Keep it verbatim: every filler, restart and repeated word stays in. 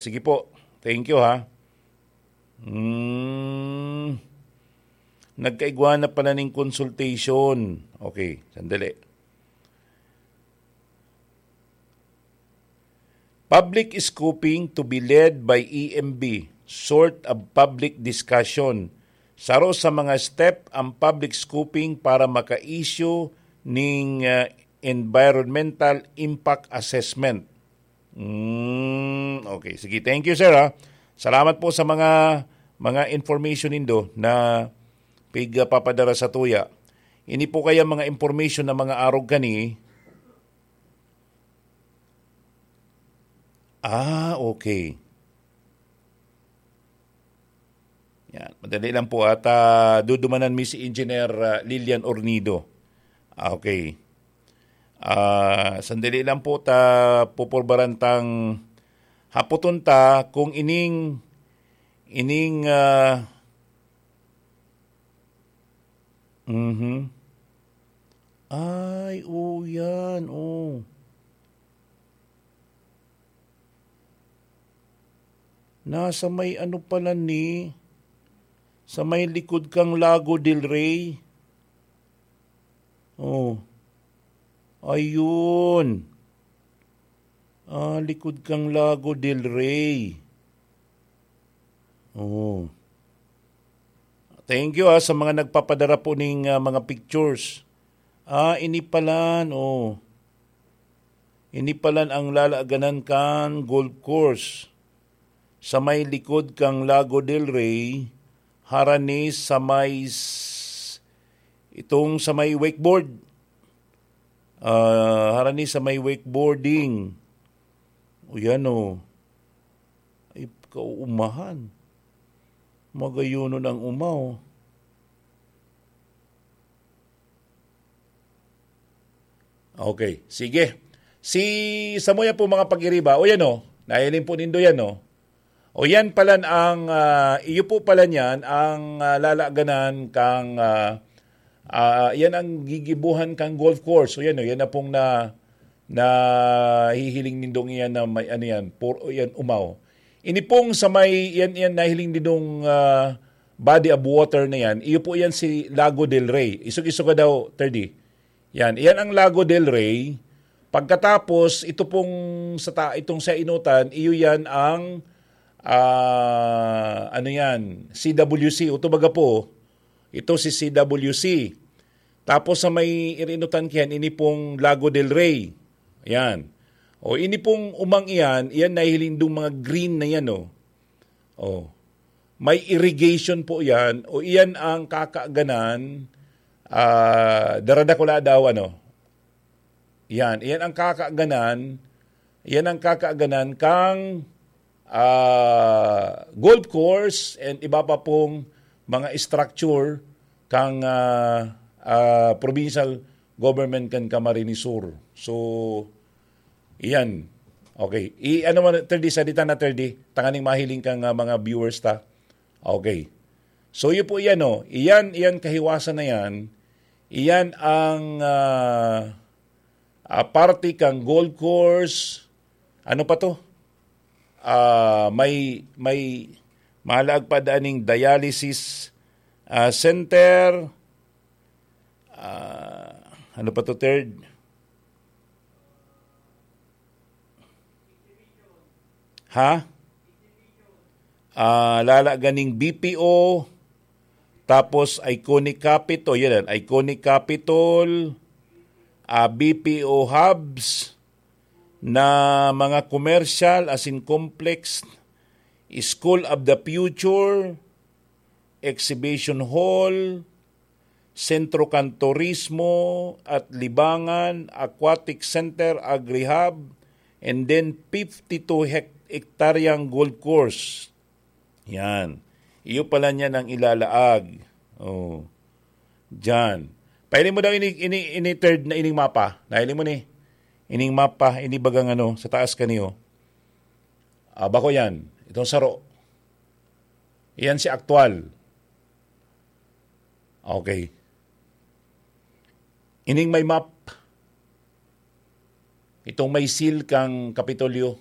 Sige po. Thank you, ha. Hmm. Nagkaigwa na pala ning consultation. Okay, sandali. Public scoping to be led by E M B, sort of public discussion. Saro sa mga step ang public scoping para maka-issue ning, ah, environmental impact assessment. Mm, okay. Sige, thank you, sir, ha. Salamat po sa mga, mga information nindo na pigpapadara sa tuya. Ini po kaya mga information na mga arog kani. Ah, okay. Yan. Madali lang po at, ah, dudumanan mi si Engineer, ah, Lilian Ornido. Ah, okay. Ah, sandali lang po ta pupurbaran tang hapoton ta kung ining, ining, ah, mhm. Ay, oo yan, oh. Nasa may ano pala ni, sa may likod kang Lago del Rey. Oh. Ayun. Ah, likod kang Lago del Rey. Oh. Thank you, ah, sa mga nagpapadara po ning, ah, mga pictures. Ah, ini palan, oh. Ini palan ang lalaganan kan golf course. Sa may likod kang Lago del Rey, harani sa may s-, itong sa may wakeboard. Ah, harani sa may wakeboarding. O yan, oh. Ay, kauumahan. Magayonon ang uma, oh. Okay, sige. Si samuya po, mga pag-iriba, o yan, oh. Nahiling po nindo yan, oh. O yan palan ang, ah, iyo po palan yan ang, ah, lalaganan kang, ah, ah, yan ang gigibuhan kang golf course. O yan, o yan na pong na, nahihiling nindong iyan na may ano yan, por, o yan, umaw. Ini pong sa may, yan, yan nahiling nindong, ah, body of water na yan, iyo po yan si Lago del Rey. Isog-isog ka daw, thirty. Yan, iyan ang Lago del Rey. Pagkatapos, ito pong sa ta-, itong sa inutan, iyo yan ang, ah, ano yan, C W C. O ito baga po, ito si C W C. Tapos sa may irinutan kiyan, ini pong Lago del Rey. Yan. O ini pong umang iyan, iyan nahiling dong mga green na yan, oh. Oh. May irrigation po yan. O iyan ang kakaganan, ah, daradakula daw, ano. Yan. Iyan ang kakaganan, iyan ang kakaganan kang, ah, golf course and iba pa pong mga structure kang, ah, ah, provincial government kan Camarines Sur. So, iyan. Okay. I, ano man, thirty, salita na thirty, tanganing mahiling kang, ah, mga viewers ta. Okay. So, yun po iyan, oh. Iyan, iyan kahiwasan na yan. Iyan ang, ah, ah, parte kang golf course. Ano pa to? Ah, may, may malaag pa daan ning dialysis, ah, center. Ah, ano pa to, third? Ha? Ah, lala ganing B P O, tapos Iconic Capitol, yun yan, Iconic Capitol, ah, B P O hubs, na mga commercial, as in complex, School of the Future, Exhibition Hall, Sentro kan Turismo at Libangan, Aquatic Center, Agri-Hub, and then fifty-two hek-, hektaryang golf course. Yan. Iyo pala niyan ang ilalaag. Oh. Diyan. Pahiling mo daw ini, ini, ini third na ining mapa. Nahiling mo ni? Ining mapa, ini bagang ano, sa taas kaniyo. Ah, bako yan. Itong saro. Yan si aktual. Okay. Ining may map. Itong may seal kang Kapitolyo.